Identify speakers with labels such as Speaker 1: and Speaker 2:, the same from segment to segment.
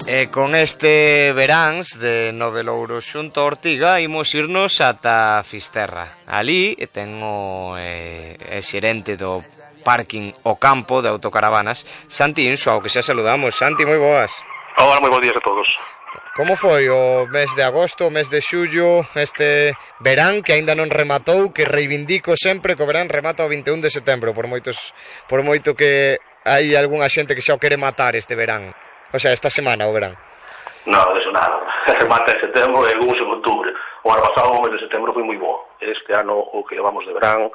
Speaker 1: E con este veráns de Novelouro xunto a Ortiga imos irnos ata Fisterra. Ali tengo xerente do parking O Campo de autocaravanas, Santi Insua, ao que xa saludamos. Santi, moi boas.
Speaker 2: Hola, moi bons días a todos.
Speaker 1: Como foi o mes de agosto, o mes de xullo, este verán que aínda non rematou, que reivindico sempre que o verán remata o 21 de setembro, por moito que hai algunha xente que xa o quere matar este verán. O sea, esta semana o verán.
Speaker 2: Non, eso nada. Remata en setembro e algúns en outubro. O ano pasado, o mes de setembro, foi moi bo. Este ano, o que levamos de verán,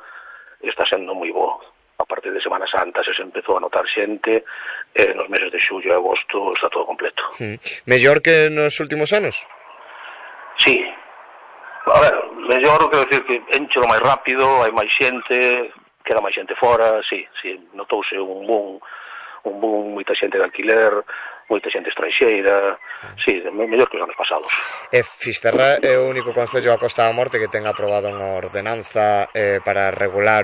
Speaker 2: está sendo moi bo. A partir de Semana Santa se empezou a notar xente, e nos meses de xullo e agosto está todo completo.
Speaker 1: Mellor que nos últimos anos?
Speaker 2: Sí. A ver, mellor, quero dicir que enchelo máis rápido, hai máis xente, queda máis xente fora, sí, notouse un boom, moita xente de alquiler, moita xente estranxeira, sí, mellor que os anos pasados.
Speaker 1: E Fisterra é o único concello da Costa da Morte que ten aprobado unha ordenanza para regular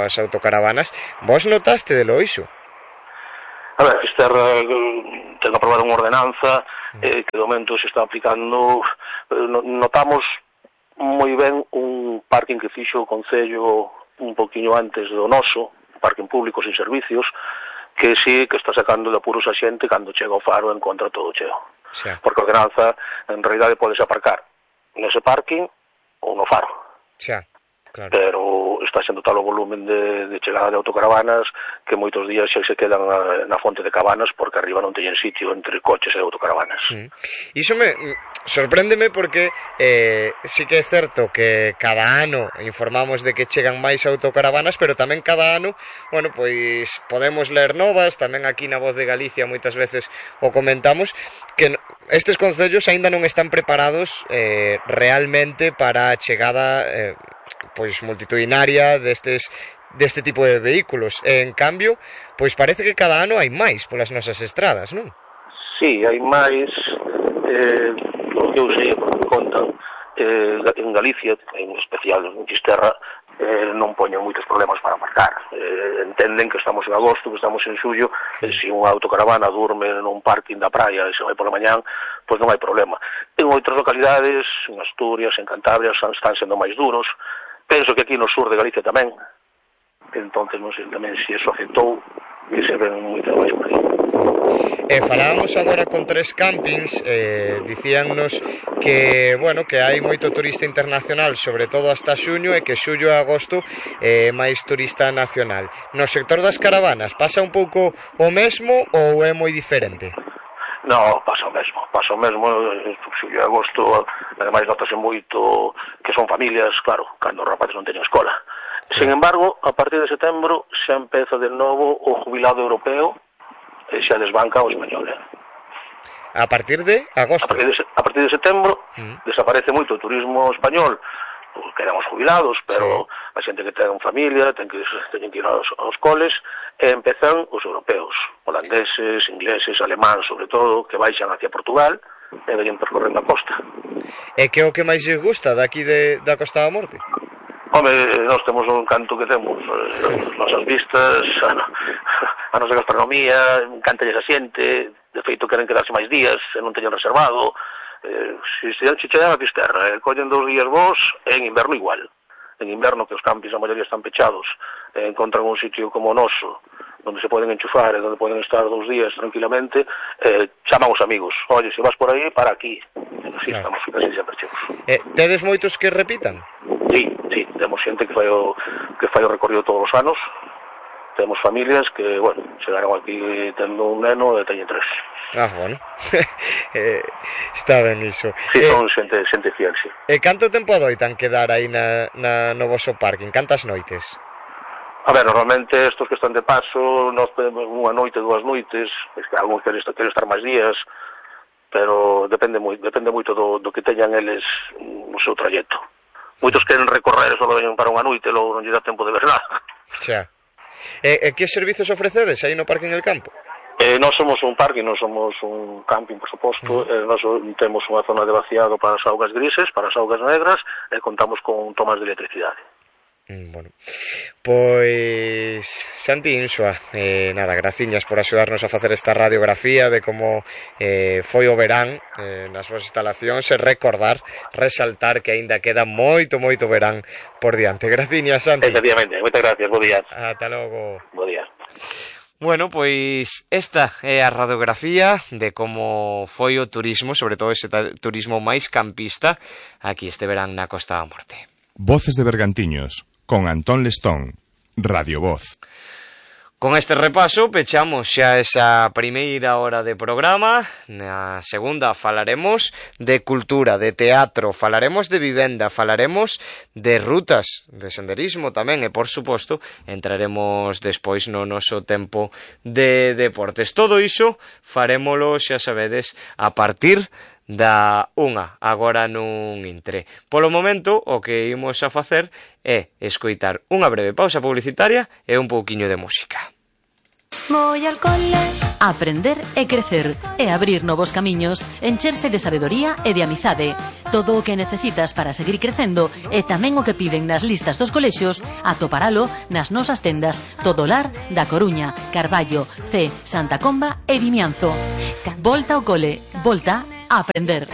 Speaker 1: as autocaravanas. Vos notaste de lo iso?
Speaker 2: A ver, Fisterra ten aprobado unha ordenanza que de momento se está aplicando. Notamos moi ben un parking que fixo o concello un poquinho antes do noso, un parking público sin servicios, que sí que está sacando de apuros a xente cando chega ao faro e encontra todo cheo. Sí. Porque a ordenanza, en realidade, podes aparcar nese parking ou no faro.
Speaker 1: Sí, claro.
Speaker 2: Pero está sendo tal o volumen de chegada de autocaravanas que moitos días xa se quedan na fonte de Cabanas porque arriba non teñen sitio entre coches e autocaravanas.
Speaker 1: Iso sorpréndeme porque sí que é certo que cada ano informamos de que chegan máis autocaravanas, pero tamén cada ano, bueno, pois podemos ler novas, tamén aquí na Voz de Galicia moitas veces o comentamos, que estes concellos aínda non están preparados realmente para a chegada pois multitudinaria deste tipo de vehículos. En cambio, pois parece que cada ano hai máis polas nosas estradas, non?
Speaker 2: Sí, hai máis, o que eu sei, contan, en Galicia, en especial en Fisterra, non poñen moitos problemas para marcar. Entenden que estamos en agosto, que estamos en xullo, e se unha autocaravana durme nun parking da praia e se vai pola mañán, pois non hai problema. En outras localidades, en Asturias, en Cantabria, están sendo máis duros. Penso que aquí no sur de Galicia tamén, entonces non sei tamén se eso afectou, que se ven moito máis por aí.
Speaker 1: Falábamos agora con tres campings, dicíannos que, bueno, que hai moito turista internacional, sobre todo hasta xuño, e que xullo e agosto máis turista nacional. No sector das caravanas, pasa un pouco o mesmo ou é moi diferente?
Speaker 2: No, pasa o mesmo, xullo e agosto, ademais notase moito que son familias, claro, cando os rapaces non teñen escola. Sin embargo, a partir de setembro xa empeza de novo o jubilado europeo e xa desbanca o español.
Speaker 1: A partir de agosto?
Speaker 2: A partir de setembro desaparece moito o turismo español, quedan os jubilados, pero a xente que ten familia, teñen que ir aos coles, e empezan os europeos, holandeses, ingleses, alemáns, sobre todo, que baixan hacia Portugal e veñen percorrendo a costa.
Speaker 1: E que é o que máis lles gusta daqui da Costa da Morte?
Speaker 2: Home, nós temos un canto que temos, as nosas vistas, a nosa gastronomía, encántalles a xente, de feito queren quedarse máis días e non teñen reservado. Se chegan a Fisterra, collen 2 días vos, e en inverno igual. En inverno, que os campings a maioría están pechados, encontran un sitio como o noso, onde se poden enchufar e onde poden estar 2 días tranquilamente, chaman os amigos, oye, se vas por aí, para aquí. Así estamos casi sempre chegos.
Speaker 1: Tedes moitos que repitan?
Speaker 2: Sí, temos xente que fai o recorrido todos os anos, temos familias que, bueno, chegaron aquí tendo un neno e teñen 3.
Speaker 1: Bueno, está ben iso.
Speaker 2: Sí, son xente fiel, sí.
Speaker 1: E canto tempo adoitan quedar aí no voso parking? Cantas noites?
Speaker 2: A ver, normalmente estos que están de paso, nós podemos unha noite, 2 noites, es que algúns queren estar máis días, pero depende moito do que teñan eles no seu trayecto. Moitos queren recorrer, só veñen para unha noite, logo non lle dá tempo de ver nada.
Speaker 1: Xa. E que servizos ofrecedes aí no parking El Campo?
Speaker 2: Nós somos un parking, non somos un camping, por suposto. Nós temos unha zona de vaciado para as augas grises, para as augas negras, e contamos con tomas de electricidade.
Speaker 1: Bueno, pois Santi Insua, nada, graciñas por axudarnos a facer esta radiografía de como foi o verán nas vosas instalacións e resaltar que aínda queda moito verán por diante. Graciñas, Santi.
Speaker 2: Efectivamente, moitas gracias, bo día.
Speaker 1: Ata logo.
Speaker 2: Bo día.
Speaker 1: Bueno, pois esta é a radiografía de como foi o turismo, sobre todo ese turismo máis campista, aquí este verán na Costa da Morte.
Speaker 3: Voces de Bergantiños, con Antón Lestón, Radio Voz.
Speaker 1: Con este repaso pechamos xa esa primeira hora de programa. Na segunda falaremos de cultura, de teatro, falaremos de vivenda, falaremos de rutas, de senderismo tamén e, por suposto, entraremos despois no noso tempo de deportes. Todo iso farémolo, xa sabedes, a partir da unha, agora nun intre. Polo momento, o que imos a facer é escoitar unha breve pausa publicitaria e un pouquiño de música.
Speaker 4: Voy al cole. Aprender e crecer e abrir novos camiños, encherse de sabedoría e de amizade. Todo o que necesitas para seguir crecendo e tamén o que piden nas listas dos colexios, atoparalo nas nosas tendas Todolar da Coruña, Carballo, C, Santa Comba e Vimianzo. Volta ao cole, volta a aprender.